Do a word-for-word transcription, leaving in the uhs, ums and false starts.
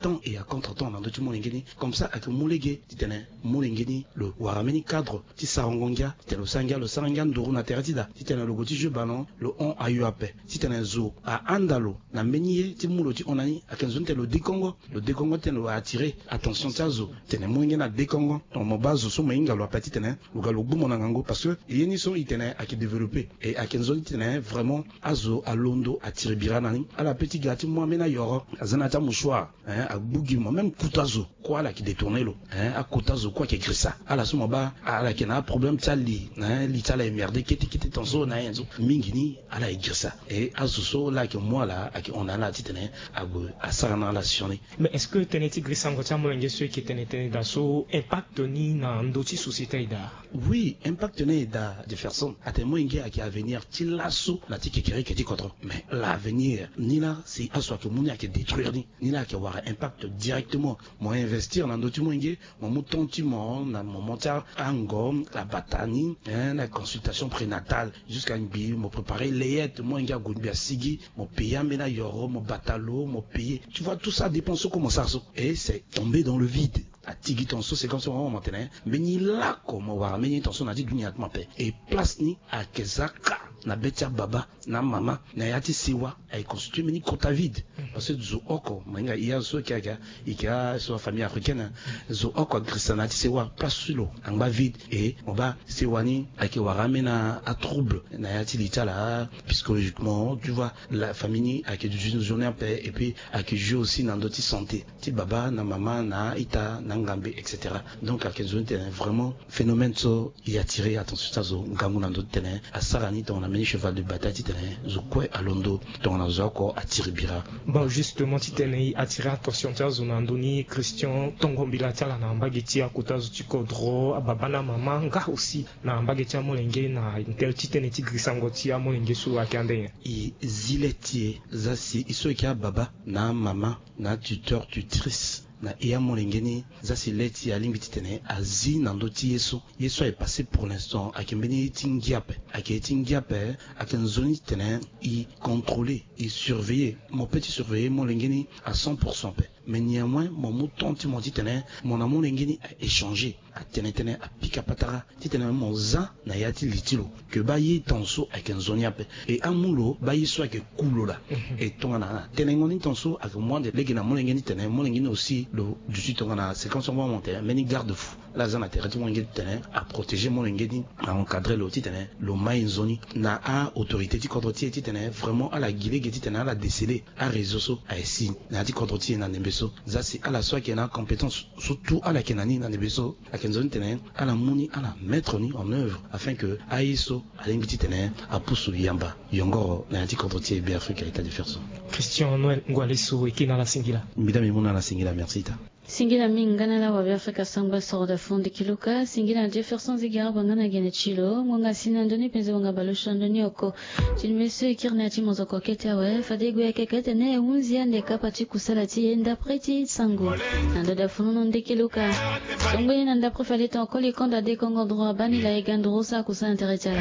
temps et à contre temps na ndö ti molenge ni. Comme ça ayeke mu lege titene molenge ni lo wara mbeni cadre ti sarango ngia titene lo sara ngia lo sara ngia nduru na tere ti da titene lo gue ti jeu ballon lo hon ayo ape titene zo ahanda lo na mbeni ye ti mu lo ti hon na ni ayeke nzoni titene lo dekongo lo dekongo titene lo attire attention ti azo titene molenge ni adekongo. Donc mo baa zo so mo hinga lo ape titene lo ga lo gbu mo na ngangu parce que ye ni so itene ayeke développe et ayeke nzoni titene vraiment azo alondo atiri bira na ni ala pe ti ga ti mu ambeni ayoro aza na ya ti amouchoir agbu gi mo même kuta zo kue ala yeke détourner lo. Akuta zo kue ayeke girisa ala so mo baa ala yeke na aproblème ti ali li ti ala emerde kete kete ton so na ayen so mingi ni ala yeke girisa. E azo so laa ayeke mu ala ayeke hon na ala titene ague asara na ala sioni. Mais est-ce que tënë ti grisango ti amolenge so eke tene tënë daa so impact ni na ndö ti société aye daa? Oui, impact ni aye daa. Jefferson atene molenge ayeke avenir ti laso na ti kekereke ti kodro mais l'avenir ni laa si azo ayeke mu ni ayeke détruire ni ni laa ayeke wara impact directement. Mo investir na ndö ti molenge mo mu temps ti mo na moment ti ango abata ni na consultation prénatale jusqu'à ngbii mo préparer layette molenge ague ngbii asigi mo payer ambeni ayoro mo bata lo mo payer tu vois tout ça dépense so kue mo sara so et c'est tombé dans le vide. Atigi ton so c'est comme ça mo tene mbeni lako mo wara mbeni ton so na ti dunia ti mo ape. Et place ni ayeke za kâ na be ti ababa na amama na ya ti sewa aye constitue mbeni kota vide. Parce que zo oko mo hinga hia so eke aga eke aso afamille africaine zo oko agirisa na ya ti sewa place ti lo angba vide. Et mo baa sewa ni ayeke wara ambeni atrouble na ya ti li ti ala psychologiquement tu vois la famille ni ayeke duti nzoni ape et puis ayeke jeu aussi na ndö ti santé ti baba na mama na ita na ngambe et cetera. Donc ayeke nzoni tene vraiment phénomène so e attire attention ti azo ngangu na ndö ti tene asara ni tongana mbeni cheval de bataille titene zo kue alondo tongana zo oko atiri bira. Bon justement titene e attire attention ti azo na ndö ni Christian tongo mbila ti ala na mbage ti akota zo ti kodro ababa na amama nga aussi na mbage ti amolenge na tel ti tënë ti grisango ti amolenge so ayeke ande nyen? E zi le ti e za si e so eke ababa na amama na atuteur tutrice na e amolenge ni za si le ti e alingbi titene azi na ndö ti ye so ye so aye passé pour l'instant ayeke mbeni ye ti ngia ape ayeke ye ti ngia ape. Ayeke nzoni titene e contrôler e surveiller mo pe ti surveiller molenge ni à cent pour cent ape. Mais néanmoins mo mu temps ti mo titene mo na molenge ni a échanger atene tënë apika patara titene mo za na ya ti li ti lo ke baa ye ton so ayeke nzoni ape. E amu lo baa ye so ayeke ku lo laa. E tongana tenengo ni ton so ayeke mu ande lege na molenge ni titene molenge ni aussi lo duti tongana séquence yango amonte mbeni garde fou ala za na tere ti molenge ni titene aprotéger molenge ni a encadrer lo titene lo mai nzoni na a-autorité ti kodro ti e titene vraiment ala gi lege titene ala déceler aréseau so aye si na ya ti kodro ti e na ndembe so. Za si ala so ayeke na acompétence so tout ala yeke na ni na ndembe so ayeke nzoni titene ala mu ni ala mettre ni en œuvre afin que aye so alingbi titene apusu yamba yongoro na ya ti kodro ti e Beafrika. Ita Jefferson. Christian Noël Ngwaleso eke na ala singila. Mbi da mbi mu na ala singila merci ita. Singila mingi nga na ala wa Beafrika sangba soro da fundi kiluka singila na Jefferson Ziga banga na gene ti lo ngonga si na ndoni penze wanga balo sha ndoni oko. Ti ndembe so e kiri na ya ti mozoko kete awe fade e gue ya keke tene e hunzi ande kapa ti kusala ti e ndapre ti sango. Na ndo da fununu ndeke luka. Songbe ni na ndapre fade ton koli kondo ade kongo droit bani la e ga nduru sa kusala na tere ti ala.